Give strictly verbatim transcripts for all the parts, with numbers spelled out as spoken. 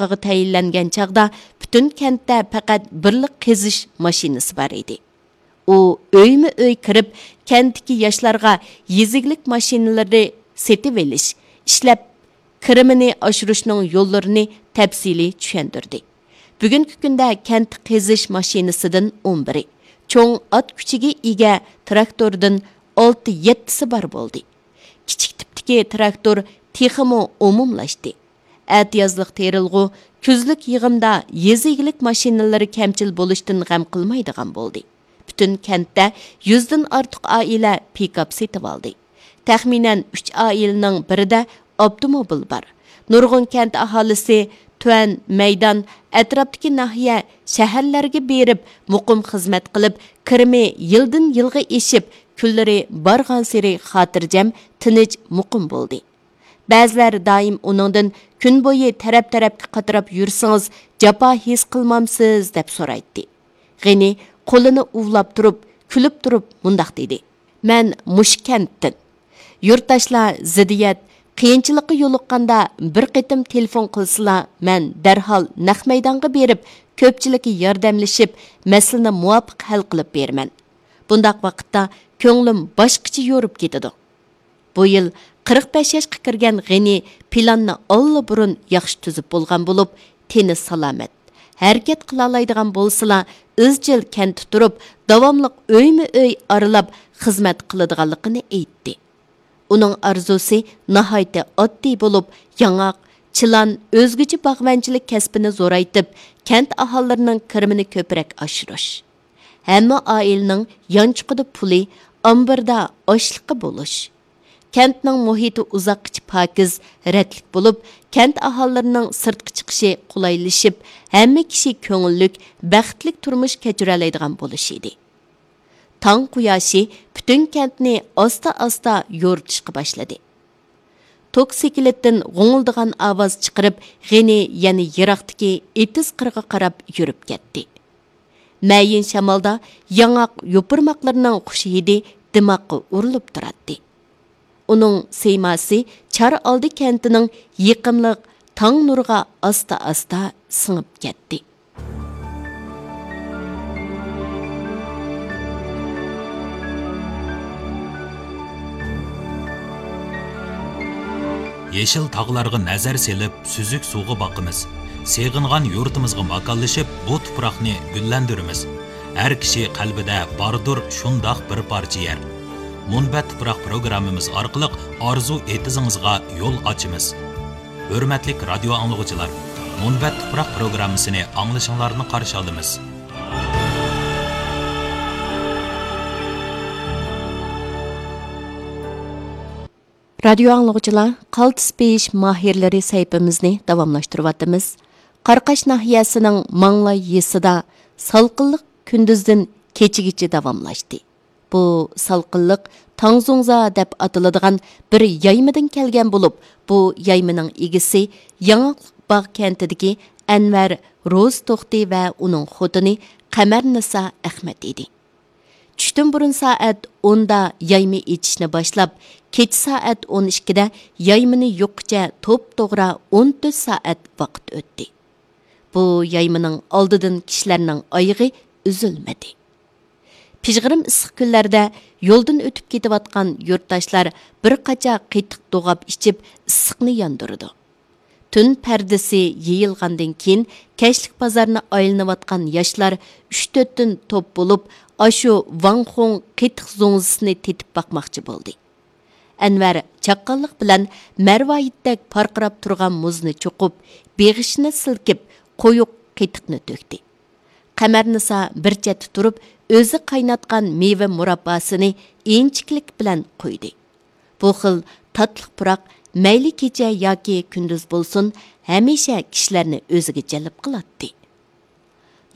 قىغا تەيىنلەنگەن چاغدا پۈتۈن كەنتتە پەقەت بىرلا قېزىش ماشىنىسى بار ئىدى. ئۇ ئۆيمۇ ئۆي كىرىپ، كەنتتىكى ياشلارغا يېزا ئىگىلىك ماشىنىلىرى سېتىۋېلىش، ئىشلەپ كىرىمىنى ئاشۇرۇشنىڭ يوللىرىنى تەپسىلىي چۈشەندۈردى. بۈگۈنكى كۈندە كەنت قېزىش ماشىنىسىدىن ئون بىرى، چوڭ ئات كۈچىگە ئىگە تىراكتوردىن ئالتە يەتتىسى بار بولدى. كىچىك تىپتىكى تىراكتور تېخىمۇ ئومۇملاشتى. ئەتىيازلىق تېرىلغۇ، كۈزلۈك يىغىمدا يېزا ئىگىلىك ماشىنىلىرى كەمچىل بولۇشتىن غەم قىلمايدىغان بولدى. پۈتۈن كەنتتە يۈزدىن ئارتۇق ئائىلە پىكاپ سېتىۋالدى. تەخمىنەن ئۈچ ئائىلىنىڭ بىرىدە ئاپتوموبىل بار. نۇرغۇن كەنت ئاھالىسى تۆۋەن مەيدان ئەتراپتىكى ناھىيە، شەھەرلەرگە بېرىپ مۇقىم خىزمەت قىلىپ، كىرىمى يىلدىن يىلغا ئېشىپ، كۈنلىرى بارغانسېرى خاتىرجەم، تىنچ، مۇقىم بولدى. بەزىلەر دائىم ئۇنىڭدىن كۈن بويى تەرەپ-تەرەپكە قاتراپ يۈرسىڭىز، جاپا ھېس قىلمامسىز؟ دەپ سورايتتى. غېنى قولىنى ئۇۋىلاپ تۇرۇپ، كۈلۈپ تۇرۇپ مۇنداق دېدى: مەن مۇشۇ كەنتتىن. يۇرتداشلار زىددىيەت، قىيىنچىلىققا يولۇققاندا بىر قېتىم تېلېفون قىلسىلا، مەن دەرھال نەق مەيدانغا بېرىپ، كۆپچىلىككە ياردەملىشىپ، مەسىلىنى مۇۋاپىق ھەل قىلىپ بېرىمەن. بۇنداق ۋاقىتتا كۆڭلۈم باشقىچە يورۇپ كېتىدۇ. بۇ يىل قىرىق بەش ياشقا كىرگەن غېنى پىلاننى ئاللىبۇرۇن ياخشى تۈزۈپ بولغان بولۇپ، تېنى سالامەت، ھەرىكەت قىلالايدىغان بولسىلا، ئىزچىل كەنتتە تۇرۇپ، داۋاملىق ئۆيمۇ ئۆي ئارىلاپ خىزمەت قىلىدىغانلىقىنى ئېيتتى. ئۇنىڭ ئارزۇسى ناھايىتى ئاددىي بولۇپ، ياڭاق، چىلان، ئۆزگىچە باغۋەنچىلىك كەسپىنى زورايتىپ، كەنت ئاھالىلىرىنىڭ كىرىمىنى كۆپرەك ئاشۇرۇش. ھەممە ئائىلىنىڭ يانچۇقىدا پۇلى، ئامبىرىدا ئاشلىقى بولۇش. كەنتنىڭ مۇھىتى ئۇزاققىچە پاكىز، رەتلىك بولۇپ، كەنت ئاھالىلىرىنىڭ سىرتقا چىقىشى قولايلىشىپ، ھەممە كىشى كۆڭۈللۈك، بەختلىك تۇرمۇش كەچۈرەلەيدىغان بولۇشى ئىدى. تاڭ قۇياشى پۈتۈن كەنتنى ئاستا-ئاستا يورۇتۇشقا باشلىدى. توك سېكىلىتتىن غوڭۇلدىغان ئاۋاز چىقىرىپ، غېنى يەنە يىراقتىكى ئېتىز قىرىغا قاراپ يۈرۈپ كەتتى. مەيىن شامالدا ياڭاق يوپۇرماقلىرىنىڭ خۇش ھىدى دىماغقا ئۇرۇلۇپ تۇراتتى. ئۇنىڭ سىيماسى چار ئالدى كەنتىنىڭ يېقىملىق تاڭ نۇرىغا ئاستا-ئاستا سىڭىپ كەتتى. يېشىل تاغلارغا نەزەر سېلىپ، سۈزۈك سۇغا باقىمىز. سېغىنغان يۇرتىمىزغا ماكانلىشىپ، بۇ تۇپراقنى گۈللەندۈرىمىز. ھەر كىشى قەلبىدە باردۇر شۇنداق بىر پارچە يەر. مۇنبەت تۇپراق پروگراممىمىز ئارقىلىق ئارزۇ ئېتىزىڭىزغا يول ئاچىمىز. ھۆرمەتلىك رادىيو ئاڭلىغۇچىلار، مۇنبەت تۇپراق پروگراممىسىنى ئاڭلىشىڭلارنى قارشى ئالىمىز. رادىيو ئاڭلىغۇچىلار، قالتىس بېيىش ماھىرلىرى سەھىپىمىزنى داۋاملاشتۇرۇۋاتىمىز. قاراقاش ناھىيەسىنىڭ ماڭلاي يېزىسىدا سالقىنلىق كۈندۈزدىن كېچىگىچە داۋاملاشتى. بۇ سالقىنلىق تاڭزۇڭزا دەپ ئاتىلىدىغان بىر يايمىدىن كەلگەن بولۇپ، بۇ يايمىنىڭ ئىگىسى ياڭاقلىق باغ كەنتىدىكى ئەنۋەر روزى توختى ۋە ئۇنىڭ خوتۇنى قەمەرنىسا ئەخمەت ئىدى. چۈشتىن بۇرۇن سائەت ئوندا يايما ئېچىشنى باشلاپ، كېچە سائەت ئون ئىككىدە يايمىنى يۇققىچە توپتوغرا ئون تۆت سائەت ۋاقىت ئۆتتى. بۇ يايمىنىڭ ئالدىدىن كىشىلەرنىڭ ئايىغى ئۈزۈلمىدى. پىژغىرىم ئىسسىق كۈنلەردە يولدىن ئۆتۈپ كېتىۋاتقان يۇرتداشلار بىر قاچا قېتىق دوغاپ ئىچىپ، ئىسسىقنى ياندۇرىدۇ. تۈن پەردىسى يېيىلغاندىن كېيىن، كەچلىك بازارنى ئايلىنىۋاتقان ياشلار ئۈچ تۆتتىن توپ بولۇپ، ئاشۇ ۋاڭخۇڭ قېتىق زۇڭزىسىنى تېتىپ باقماقچى بولدى. ئەنۋەر چاققانلىق بىلەن مەرۋايىتتەك پارقىراپ تۇرغان مۇزنى چوقۇپ، بېغىشىنى سىلكىپ، قويۇق قېتىقنى تۆكتى. قەمەرنىسا بىر چەتتە تۇرۇپ، ئۆزى قايناتقان مېۋە مۇرابباسىنى ئىنچىكىلىك بىلەن قۇيدى. بۇ خىل تاتلىق پۇراق مەيلى كېچە ياكى كۈندۈز بولسۇن، ھەمىشە كىشىلەرنى ئۆزىگە جەلپ قىلاتتى.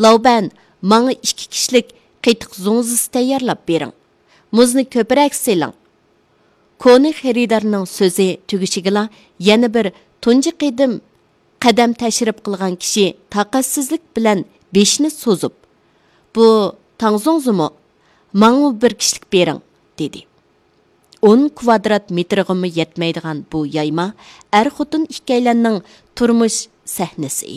لاۋبەن، ماڭا ئىككى كىشىلىك قېتىق زۇڭزىسى تەييارلاپ بېرىڭ. مۇزنى كۆپرەك سېلىڭ. كونا خېرىدارنىڭ سۆزى تۈگىشىگىلا يەنە بىر تۇنجى قېتىم قەدەم تەشرىپ قىلغان كىشى تاقەتسىزلىك بىلەن بېشىنى سوزۇپ، بۇ تاڭزۇڭزىمۇ؟ ماڭىمۇ بىر كىشىلىك بېرىڭ، دېدى. ئون كۋادرات مېتىرغىمۇ يەتمەيدىغان بۇ يايما ئەر-خوتۇن ئىككىيلەننىڭ تۇرمۇش سەھنىسى ئىدى.